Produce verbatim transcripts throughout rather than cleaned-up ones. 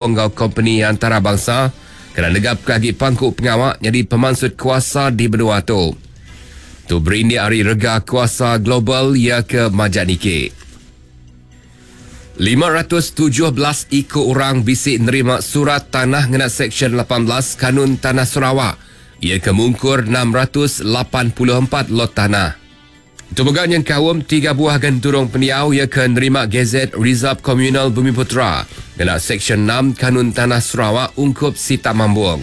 Enggau kompeni antarabangsa kena negap ke agi pangku pengawa jadi pemansut kuasa di benua tu. Tu berindik ari rega kuasa global ia ke majak niki. lima ratus tujuh belas iku orang bisi nerima surat tanah ngena Seksyen lapan belas Kanun Tanah Sarawak. Ia ke mungkur enam ratus lapan puluh empat lot tanah. Itu mega nyengkaum tiga buah genturung pendiau ia ke nerima Gazet Rizab Komunal Bumi Putra ngena Seksyen enam Kanun Tanah Sarawak ungkup Sitak Mambong.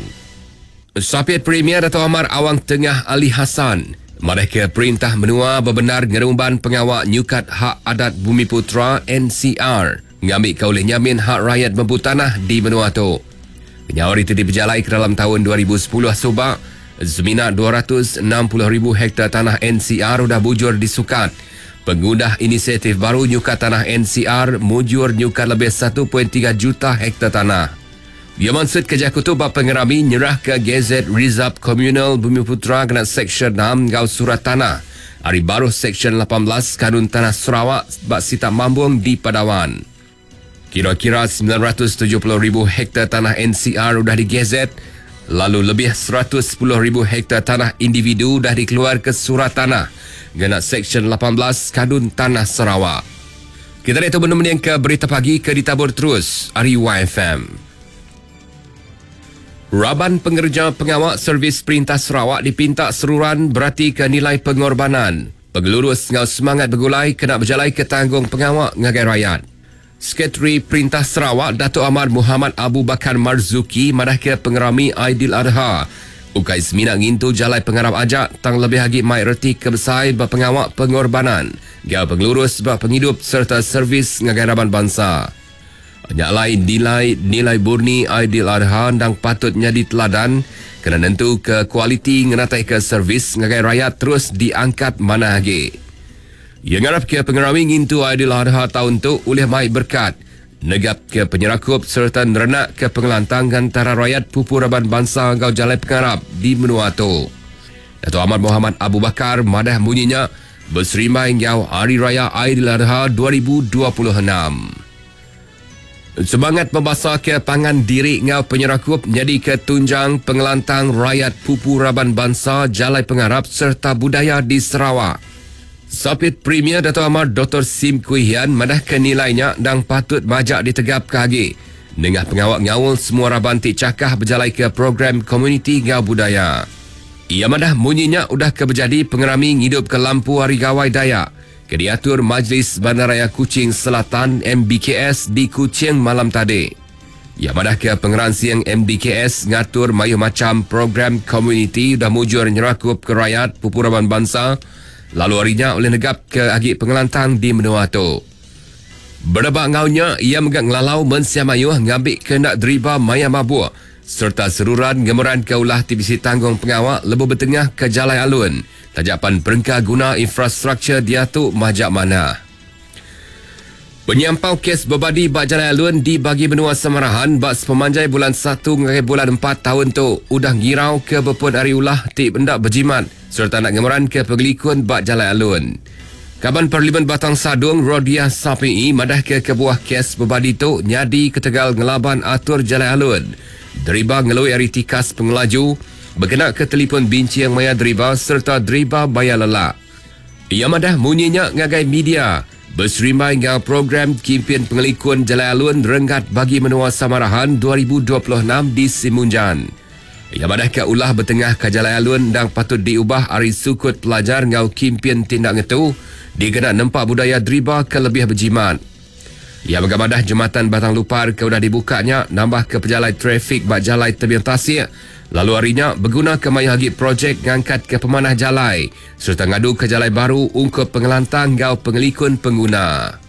Sapit Premier Dato' Amar Awang Tengah Ali Hassan madah ke perintah menua bebenar ngerumban pengawak nyukat hak adat Bumi Putra N C R ngambil ke oleh nyamin hak rakyat mempu tanah di benua tu. Penyawar itu diberjalai ke dalam tahun dua ribu sepuluh subak. Semina dua ratus enam puluh ribu hektar tanah N C R udah bujur disukat. Pengudah inisiatif baru nyukat tanah N C R mujur nyukat lebih satu perpuluhan tiga juta hektar tanah. Ia maksud kerja tu bab pengerami nyerah ke Gazet Rizab Komunal Bumi Putra kena Seksyen enam ngau surat tanah. Hari baru Seksyen lapan belas Kanun Tanah Sarawak bak Sitak Mambong di Padawan. Kira-kira sembilan ratus tujuh puluh ribu hektar tanah N C R udah digazet, lalu lebih seratus sepuluh ribu hektar tanah individu dah dikeluar ke surat tanah ngena Seksyen lapan belas Kanun Tanah Sarawak. Kita lihat tu benda ke berita pagi ke ditabur terus hari Y F M. Raban pengerja pengawal servis Perintah Sarawak dipinta seruran berarti ke nilai pengorbanan. Pengelurus ngau semangat bergulai kena berjalai ke tanggung pengawal ngagai rakyat. Sekretari Perintah Sarawak Datuk Amar Muhammad Abu Bakar Marzuki madah ke pengerami Aidil Adha. Ukai semina ngintu jalai pengarap ajak tang lebih lagi mai reti kebesai berpengawak pengorbanan, gau pengelurus sebab penghidup serta servis ngagai raban bangsa. Nyak lain nilai nilai murni Aidil Adha dan patut jadi teladan kena nentu ke kualiti ngenatai ke servis ngagai rakyat terus diangkat mana lagi. Yang ngarap ke pengerami ngintu Aidil Adha tahun tu oleh mai berkat negap ke penyerakup serta nerenak ke pengelantang antara rakyat pupu raban bangsa ngau jalai pengarap di menua tu. Dato' Ahmad Muhammad Abu Bakar madah bunyinya berserimai ngau Hari Raya Aidil Adha dua ribu dua puluh enam. Semangat membasah ke pangan diri ngau penyerakup jadi ke tunjang pengelantang rakyat pupu raban bangsa jalai pengarap serta budaya di Sarawak. Sapit Premier Dato' Amar Doktor Sim Kui Hian madah ke nilainya dan patut majak ditegap ke agi. Nengah pengawak ngawul semua raban ti cakah berjalai ke program komuniti ngau budaya. Ia madah munyinya udah ke berjadi pengerami ngidup ke lampu Hari Gawai Dayak ke diatur Majlis Bandaraya Kuching Selatan M B K S di Kuching malam tadi. Ia madah ke pengeransiang M B K S ngatur mayu macam program komuniti dah mujur nyerakup ke rakyat pupu raban bangsa lalu harinya oleh negap ke agi pengelantang di menua tu. Berdebak ngaunya, ia megak ngelalau mensia mayuh ngambil ke nak deriba maya mabuk serta seruran gemeran ke ulah T B C tanggung pengawak lebuh bertengah ke Jalai Alun. Tajapan perengka guna infrastruktur dia tu majak mana. Penyampau kes berbadi bak Jalai Alun di bagi benua Samarahan bak sepemanjai bulan satu hingga bulan empat tahun tu udah ngirau ke bepun hari ulah ti bendak berjimat serta nak gemeran ke pengelikun bak Jalai Alun. Kaban Parlimen Batang Sadung Rodia Sapi'i madah ke kebuah kes berbadi tu nyadi ketegal ngelaban atur Jalai Alun. Deriba ngelui hari tikas pengelaju, berkena ke telefon bincang maya deriba serta deriba bayar lelak. Ia madah munyinya ngagai media berserimai dengan program Kimpian Pengelikun Jalai Alun Renggat bagi Menua Samarahan dua ribu dua puluh enam di Simunjan. Ia madah ke ulah bertengah ke Jalai Alun dan patut diubah hari sukut pelajar ngau Kimpian Tindak Ngetu dikena nempak budaya deriba ke lebih berjimat. Ia bergamadah jematan Batang Lupar ke udah dibukanya nambah ke pejalai trafik bak jalai tebing tasik. Lalu harinya berguna ke maya lagi projek ngangkat ke pemanah jalai serta ngadu ke jalai baru ungkup pengelantang ngau pengelikun pengguna.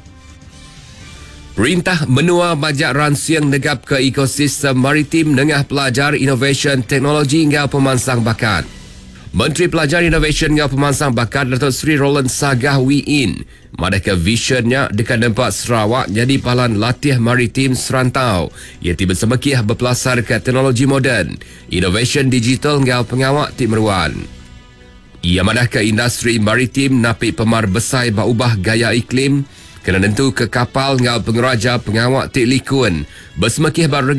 Perintah Menua Bajak Ransiang negap ke ekosistem maritim nengah pelajar inovasi teknologi ngau pemansang bakat. Menteri Pelajar Inovasi ngau Pemansang Bakat Datuk Seri Roland Sagah Wee Inn madah ke visionnya dekat nempak Sarawak jadi palan latih maritim serantau ia tiba semekiah berpelasar ke teknologi moden, inovasi digital ngau pengawak ti meruan. Ia madah ke industri maritim napi pemar besar berubah gaya iklim, Kena nentu ke kapal ngau pengeraja pengawak ti likun. Bersemakih barega